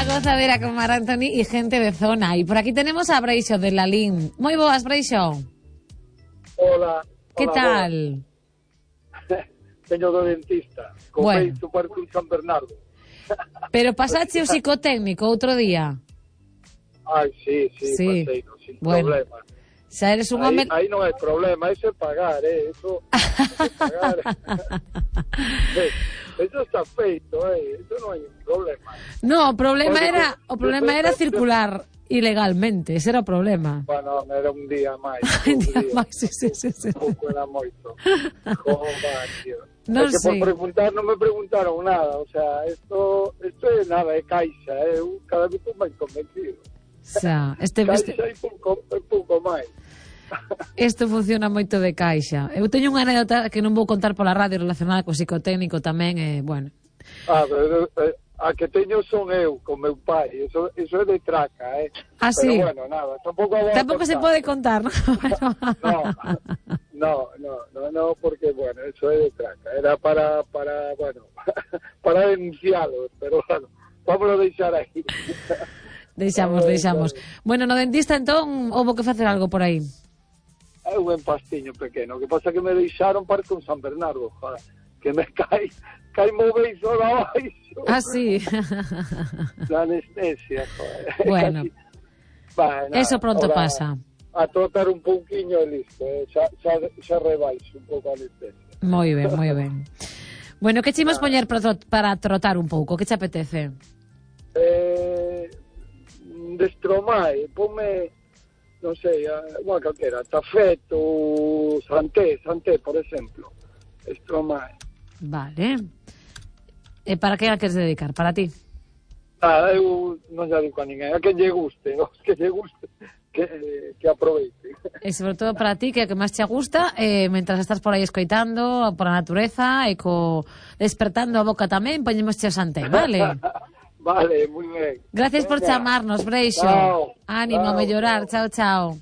La gozadera con Mar Anthony y gente de zona. Y por aquí tenemos a Breixo de Lalín. Moi boas, Breixo. Hola. Que tal? Teño do dentista. Con feito para un San Bernardo. Pero pasache o psicotécnico outro día? Ai, sí, pasei, sin problema. Xa eres un home... Aí non hai problema, eso é pagar, eso é pagar. Eso está feito, eso non hai problema. No, o problema era circular ilegalmente, ese era o problema. Bueno, era un día máis. Un día máis, sí. Pouco era moito. Joder, tío. Non sei. Por preguntar, non me preguntaron nada, o sea, esto é nada, é caixa, cada vez estou máis convencido. Xa, caixa é pouco máis. Isto funciona moito de caixa. Eu teño unha anécdota que non vou contar pola radio relacionada co psicotécnico tamén, bueno. Pero a que teño son eu, con meu pai, eso é de traca, sí? Pero bueno, nada, tampouco se pode contar, No, porque, bueno, eso é de traca, era para bueno, para denuncialo, pero bueno, vamos a deixar aí. Deixamos. Bueno, no dentista, entón, houbo que facer algo por aí. É un empastiño pequeno, que pasa que me deixaron para con San Bernardo, joder, que me cae móveis solo abaixo. Sí. La anestesia, joder. Bueno, eso pronto pasa. A trotar un pouquiño e listo, xa rebaixo un pouco a anestesia. Moi ben. Bueno, que che imos poñer para trotar un pouco? Que che apetece? De Stromae, ponme, non sei, unha calquera, Tafet ou Santé, por exemplo. Stromae. Vale. E para que a queres dedicar? Para ti? Eu non lle digo a ninguén, a que lle guste, que aproveite. E sobre todo para ti, que é o que máis che gusta, mentras estás por aí escoitando por a natureza e despertando a boca tamén, poñemos che o Santé, vale? Vale, moi ben. Gracias por chamarnos, Breixo. Ánimo, a mellorar. Chao. Chao.